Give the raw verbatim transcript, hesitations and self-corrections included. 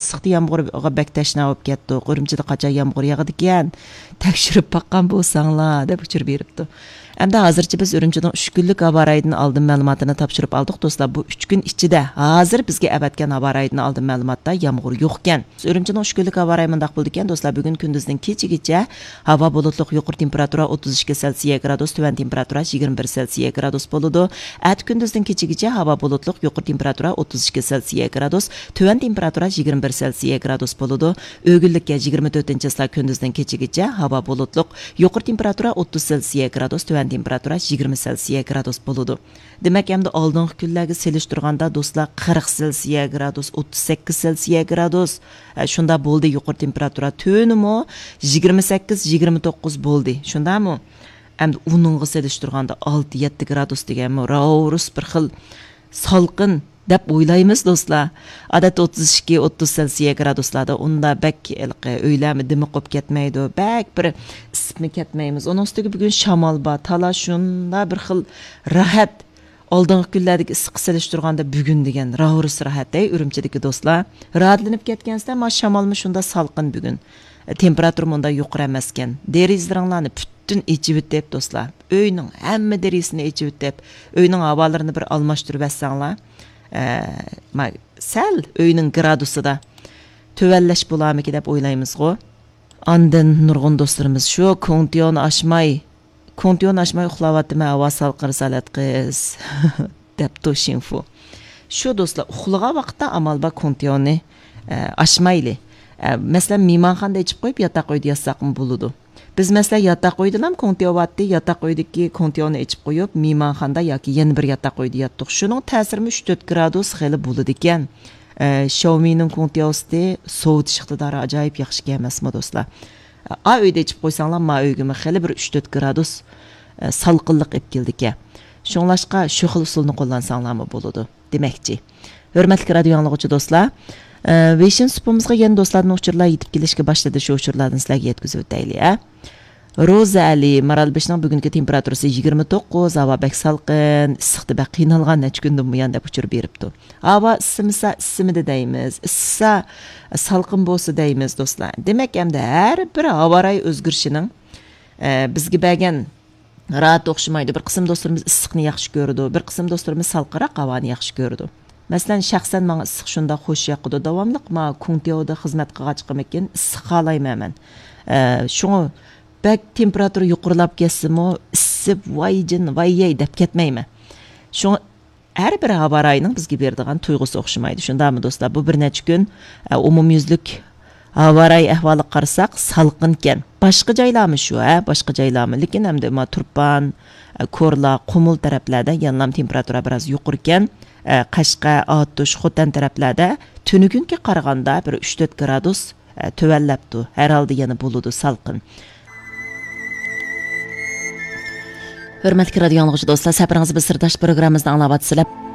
ئىسسىقتا يامغۇرغا بەك تەشنا بولۇپ كەتتۇق. ئۈرۈمچىدە قاچان يامغۇر ياغىدىكەن؟ تەكشۈرۈپ باققان بولساڭلار، دەپ ئۇچۇر بېرىپتۇ. ئەمدى ھازىرچە بىز ئۈرۈمچىنىڭ ئۈچ كۈنلۈك ھاۋا رايىدىن ئالدىن مەلۇماتىنى تاپشۇرۇپ ئالدۇق، دوستلار. بۇ ئۈچ كۈن ئىچىدە ھازىر بىزگە ئەۋەتكەن ھاۋا رايىدىن ئالدىن مەلۇماتتا يامغۇر يوقكەن. ئۈرۈمچىنىڭ ئۈچ كۈنلۈك ھاۋا رايى مۇنداق بولىدىكەن، دوستلار. بۈگۈن كۈندۈزدىن كېچىگىچە ھاۋا بۇلۇتلۇق، يۇقىرى تېمپېراتۇرا ئوتتۇز ئىككى سېلسىيە گرادۇس، تۆۋەن تېمپېراتۇرا يىگىرمە بىر سېلسىيە گرادۇس بولىدۇ. ئەتە كۈندۈزدىن كېچىگىچە ھاۋا بۇلۇتلۇق، يۇقىرى تېمپېراتۇرا ئوتتۇز ئىككى سېلسىيە گرادۇس، تۆۋەن تېمپېراتۇرا يىگىرمە بىر سېلسىيە گرادۇس بولىدۇ. ئۆگۈنلۈككە يىگىرمە تۆتىنچى چىسلا كۈندۈزدىن كېچىگىچە ھاۋا بۇلۇتلۇق، يۇقىرى تېمپېراتۇرا ئوتتۇز سېلسىيە گرادۇس، تۆۋەن تېمپېراتۇرا يىگىرمە سېلسىيە گرادۇس بولىدۇ. دېمەك، ئەمدى ئالدىنقى كۈنلەرگە سېلىشتۇرغاندا، دوستلار، قىرىق سېلسىيە گرادۇس، ئوتتۇز سەككىز سېلسىيە گرادۇس، ھە، شۇنداق بولدى. يۇقىرى تېمپېراتۇرا تۆۋىنىمۇ يىگىرمە سەككىز، يىگىرمە توققۇز بولدى. شۇنداقمۇ؟ ئەمدى ئۇنىڭغا سېلىشتۇرغاندا ئالتە، يەتتە گرادۇس دېگەنمۇ راۋرۇس بىر خىل سالقىن دەپ ئويلايمىز، دوستلار. ئادەتتە ئوتتۇز ئىككى، ئوتتۇز سېلسىيە گرادۇسلاردا ئۇندا بەك ھېلىقى ئۆيلەرمۇ دىمى قوپ كەتمەيدۇ، بەك بىر ئىسسىپمۇ كەتمەيمىز. ئۇنىڭ ئۈستىگە بۈگۈن شامال بار، تالا شۇنداق بىر خىل راھەت. ئالدىنقى كۈنلەردىكى ئىسسىققا سېلىشتۇرغاندا بۈگۈن دېگەن راۋرۇس راھەت، ئەي، ئۈرۈمچىدىكى دوستلار. راھەتلىنىپ كەتكەنسىلەر، ما شامالمۇ شۇنداق سالقىن بۈگۈن. تېمپېراتۇرىمۇ ئۇنداق يۇقىرى ئەمەسكەن. دېرىزىلىرىڭلارنى پۈتۈن ئېچىۋېتىپ، دوستلار. ئۆينىڭ ھەممە دېرىزىسىنى ئېچىۋېتىپ، ئۆينىڭ ھاۋالىرىنى بىر ئالماشتۇرۇۋەتسەڭلار، ئە، ما-، سەل ئۆينىڭ گرادۇسىدا تۆۋەنلەش بولارمىكى دەپ ئويلايمىزغۇ. ئاندىن نۇرغۇن دوستلىرىمىز شۇ كوڭتيونى ئاچماي، كوڭتيونى ئاچماي ئۇخلاۋاتىمەن، ھاۋا سالقىن رىسالەت قىز، دەپتۇ شىنفۇ. شۇ دوستلار، ئۇخلىغان ۋاقىتتا ئامال بار كوڭتيونى، ئە، ئاچمايلى. ئە، مەسىلەن، مېھمانخانىدا ئېچىپ قويۇپ، ياتاق ئۆيدە ياتساقمۇ بولىدۇ. بىز، مەسىلەن، ياتاق ئۆيدىلام كوڭتيو بارتتى، ياتاق ئۆيدىكى كوڭتيونى ئېچىپ قويۇپ، مېھمانخانىدا ياكى يەنە بىر ياتاق ئۆيدە ياتتۇق. شۇنىڭ تەسىرىمۇ ئۈچ تۆت گرادۇس خېلى بولىدىكەن. ئە، شاۋمىنىڭ كوڭتيوسى سوۋۇتۇش ئىقتىدارى ئاجايىپ ياخشىكەن ئەمەسمۇ، دوستلار؟ ئا ئۆيدە ئېچىپ قويساڭلار، ما ئۆيگىمۇ خېلى بىر ئۈچ تۆت گرادۇس، ئە، سالقىنلىق ئېلىپ كېلىدىكەن. شۇڭلاشقا شۇ خىل ئۇسۇلنى قوللانساڭلارمۇ بولىدۇ دېمەكچى. ھۆرمەتلىك رادىيو ئاڭلىغۇچى دوستلار، ئە، ۋېيشىن سۇپىمىزغا يەنە دوستلاردىن ئۇچۇرلار يېتىپ كېلىشكە باشلىدى، شۇ ئۇچۇرلاردىن سىلەرگە يەتكۈزۈۋېتەيلى، ھە. روزا ئەلى، مارالبېشىنىڭ بۈگۈنكى تېمپېراتۇرىسى يىگىرمە توققۇز، ھاۋا بەك سالقىن، ئىسسىقتا بەك قىينالغان نەچچە كۈندىن بۇيان، دەپ ئۇچۇر بېرىپتۇ. ھاۋا ئىسسىمىسا ئىسسىمىدى دەيمىز، ئىسسىسا سالقىن بولسا دەيمىز، دوستلار. دېمەك، ئەمدى ھەر بىر ھاۋا رايى ئۆزگىرىشىنىڭ، ئە، بىزگە بەرگەن راھەت ئوخشىمايدۇ. بىر قىسىم دوستلىرىمىز ئىسسىقنى ياخشى كۆرىدۇ، بىر قىسىم دوستلىرىمىز سالقىنراق ھاۋانى ياخشى كۆرىدۇ. مەسىلەن، شەخسەن ماڭا ئىسسىق شۇنداق خوش ياقىدۇ، داۋاملىق مانا كوڭتيودا خىزمەت قىلغاچقىمىكىن ئىسسىق خالايمەن مەن. ئە، شۇڭا بەك تېمپېراتۇرا يۇقىرىلاپ كەتسىمۇ، ئىسسىپ، ۋايجىن، ۋاييەي دەپ كەتمەيمەن. شۇڭا ھەر بىر ھاۋا رايىنىڭ بىزگە بېرىدىغان تۇيغۇسى ئوخشىمايدۇ. شۇنداقمۇ دوستلار؟ بۇ بىر نەچچە كۈن، ئە، ئومۇميۈزلۈك ھاۋا رايى ئەھۋالىغا قارىساق، سالقىنكەن. باشقا جايلارمۇ شۇ، ھە؟ باشقا جايلارمۇ. لېكىن ئەمدى ما تۇرپان، ئە، كورلا، قۇمۇل تەرەپلەردە يەنىلام تېمپېراتۇرا بىراز يۇقىرىكەن. ئە، قەشقەر، ئاتۇش، خوتەن تەرەپلەردە تۈنۈگۈنكىگە قارىغاندا بىر ئۈچ تۆت گرادۇس، ئە، تۆۋەنلەپتۇ. ھەر ھالدا يەنە بولىدۇ سالقىن. ھۆرمەتلىك رادىيو ئاڭلىغۇچى دوستلار، سەپىرىڭىز بىز سىرداش پروگراممىمىزنى ئاڭلاۋاتىسىلەر.